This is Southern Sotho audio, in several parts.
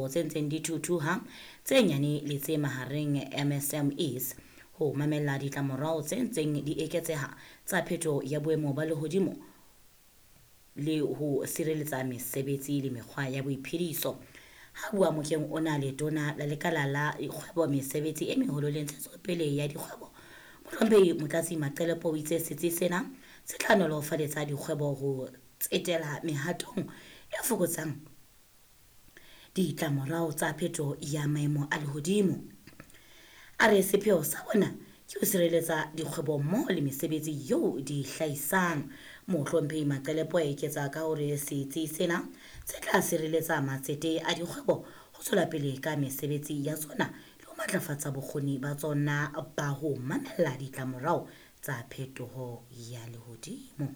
Tse ntseng di thuthuha, tse nyane le tse mahareng, MSMEs, ho mamella ditlamorao tse ntseng di eketseha tsa phetoho ya boemo ba lehodimo le ho sireletsa mesebetsi le mekgwa ya boiphediso. Ha bua mokeng ona, Letona la Lekala la Dikgwebo, Mesebetsi e Meholo le Ntshetsopele ya Dikgwebo, Mohlomphehi Motlatsi Maqelepo, o itse setsi sena se tla nolofaletsa dikgwebo ho tsetela mehatong e fokotsang ditlamorao tsa phetoho ya maemo a lehodimo. A re sepheo sa bona ke ho sireletsa dikgwebo mmoho le mesebetsi eo di hlahisang. Mohlomphehi Maqelepo a eketsa ka hore setsi sena se tla sireletsa matsete a dikgwebo ho tswela pele ka mesebetsi ya tsona le ho matlafatsa bokgoni ba tsona ba ho mamella ditlamorao tsa phetoho ya lehodimo.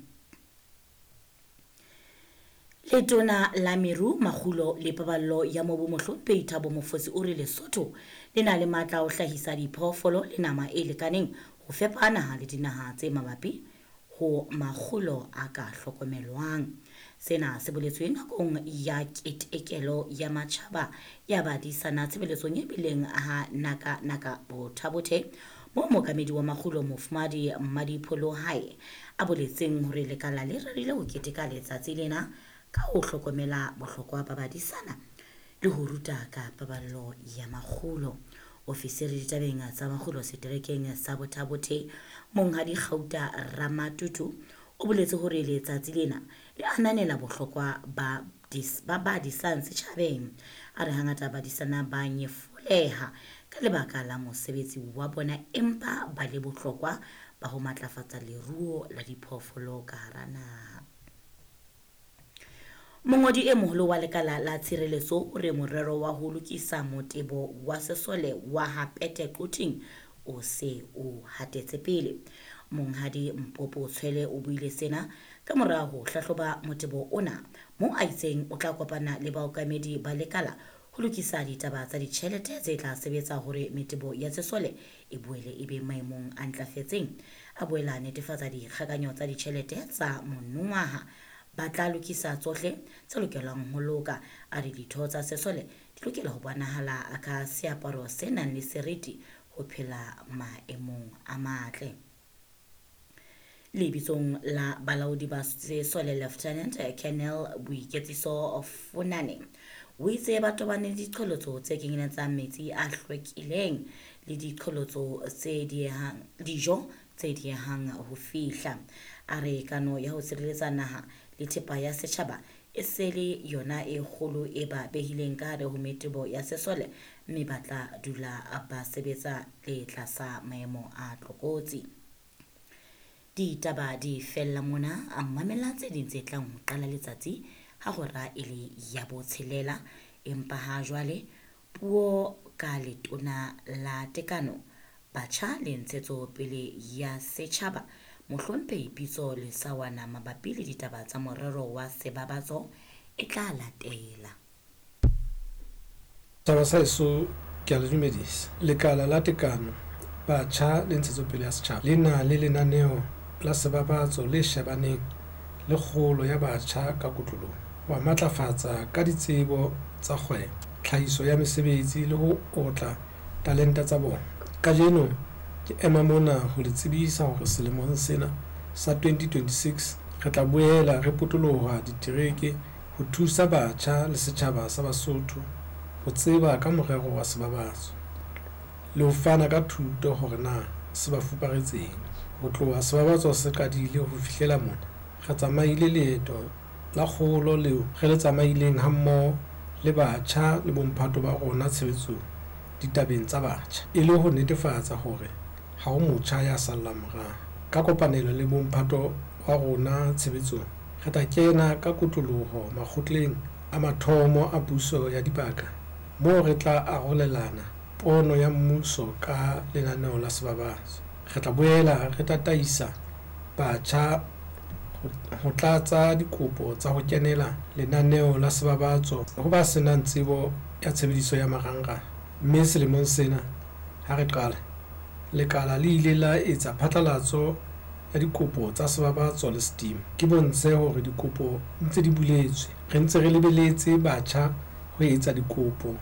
Letona la Meru, Makgulo le Paballo ya Mobu, Mohlomphehi Thabo Mofosi, o re Lesotho le na le matla a ho hlahisa diphoofolo le nama e lekaneng ho fepa naha le dinaha tse mabapi ho makgulo a ka hlokomelwang. Sena se boletswe nakong ya ketekelo ya matjhaba ya badisana tshebeletsong e bileng ha Naka Naka Bothabothe, moo mookamedi wa makgulo, Mofumahadi Mmadipholo Hae, a boletseng hore lekala le rerile ho keteka letsatsi lena ka ho hlokomela bohlokwa ba badisana le ho ruta ka paballo ya makgulo. Ofisiri ditabeng tsa makgulo seterekeng sa Bothabothe, Monghadi Kgauta Ramatutu, o boletse hore letsatsi lena le ananela bohlokwa ba ba ba disang setjhabeng. A re hangata badisana ba nyefoleha ka lebaka la mosebetsi wa bona, empa ba le bohlokwa ba ho matlafatsa leruo la diphoofolo ka hara naha. Mongodi e moholo wa lekala la tshireletso o re morero wa ho lokisa motebo wa sesole wa ha Pete Quthing o se o hatetse pele. Monghadi Mpopo Tshwele o buile sena ka mora ho hlahloba motebo ona, moo a itseng o tla kopana le baokamedi ba lekala ho lokisa ditaba tsa ditjhelete tse tla sebetsa hore metebo ya sesole e boele e be maemong a ntlafetseng. A boela a netefatsa dikgakanyo tsa ditjhelete tsa monongwaha ba tla lokisa tsohle tse lokelang ho loka. A re ditho tsa sesole di lokela ho bonahala ka seaparo se nang le seriti ho phela maemong a matle. Lebitsong la balaodi ba sesole, Lieutenant Colonel Boiketsiso Funane o itse ba tobane le diqholotso tse kenyeletsang metsi a hlwekileng le diqholotso tse diehang, dijo tse diehang ho fihla. A re kano ya ho sireletsa naha le thepa ya setjhaba e se le yona e kgolo e ba behileng ka hare ho metebo ya sesole, mme ba tla dula ba sebetsa le tlasa maemo a tlokotsi. Ditaba di fella mona, a mamela tse ding tse tlang ho qala letsatsi ha hora e le ya botshelela. Empa ha jwale puo ka Letona la Tekano, Batjha le Ntshetsopele ya Setjhaba, Mohlomphehi Pitso Lesawana, mabapi le ditaba tsa morero wa sebabatso e tla latela. Setjhaba sa heso, ke a le dumedisa. Lekala la Tekano, Batjha le Ntshetsopele ya Setjhaba le na le lenaneo la sebabatso le shebaneng le kgolo ya batjha ka kotloloho, ho ba matlafatsa ka ditsebo tsa kgwebo, tlhahiso ya mesebetsi le ho otla talenta tsa bona. Kajeno ke ema mona ho le tsebisa hore selemong sena sa 2026 re tla boela re potoloha ditereke ho thusa batjha le setjhaba sa Basotho ho tseba ka morero wa sebabatso le ho fana ka thuto hore na se ba fuparetseng. Ho tloha sebabatso se qadile ho fihlela mona, re tsamaile leeto la kgolo leo re le tsamaileng hammoho le batjha le bomphato ba rona tshebetsong ditabeng tsa batjha, e le ho netefatsa hore ha ho motjha ya sallang morao. Ka kopanelo le bomphato wa rona tshebetsong, re tla kena ka kotloloho makgotleng a mathomo a puso ya dibaka moo re tla arolelana pono ya mmuso ka lenaneo la sebabatso. Re tla boela re tataisa batjha ho tlatsa dikopo tsa ho kenela lenaneo la sebabatso ho ba senang tsebo ya tshebediso ya marangrang. Mme selemong sena ha re qala, lekala le ile la etsa phatlalatso ya dikopo tsa sebabatso le Steam. Ke bontshe hore dikopo ntse di buletswe. Re ntse re lebeletse batjha ho etsa dikopo.